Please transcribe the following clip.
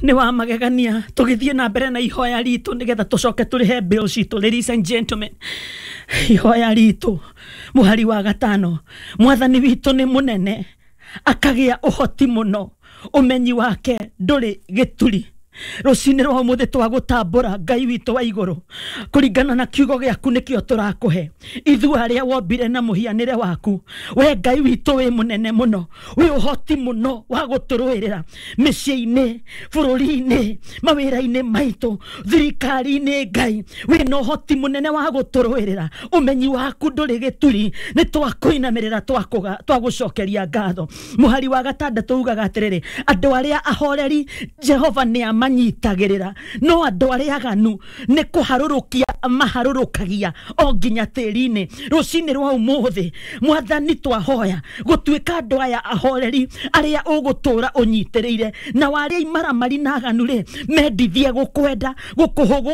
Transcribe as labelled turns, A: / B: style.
A: Nĩ wa magegania. Tũgĩthiĩ na mbere na ihoya ritũ nĩgetha tũcoke tũrĩhe bill citũ. Ladies and gentlemen, ihoya ritũ mũhari wa 5, Mwathani witũ nĩ mũnene, akagĩa ũhoti mũno, ũmenyi wake ndũrĩ gĩturi. Rũcinĩ rwa ũmũthĩ twagũtambũra Ngai witũ wa igũrũ, kũringana na kiugo gĩaku nĩkĩo tũrakũhe. Ithuĩ arĩa wombire na mũhianĩre waku, we Ngai witũ wĩ mũnene mũno, wĩ ũhoti mũno wa gũtũrũĩrĩra mĩciĩ-inĩ, bũrũri-inĩ, mawĩra-inĩ maitũ, thirikari-inĩ. Ngai wĩna ũhoti mũnene wa gũtũrũĩrĩra, ũmenyi waku ndũrĩ gĩturi. Nĩ twakũinamĩrĩra, twagũcokeria ngatho. Mũhari wa 6 ugaga atĩrĩrĩ, andũ arĩa ahoreri Jehova nĩ amanyitagĩrĩra, no andũ arĩa aganu nĩ kũharũrũkia maharũrũkagia o nginya tĩri-inĩ. Rũcinĩ rwa ũmũthĩ Mwathani twahoya gũtuĩka andũ aya ahoreri arĩa ũgũtũra ũnyitĩrĩire, na warĩa imaramari na aganu rĩ, mendithie gũkwenda gũkũhũgũ.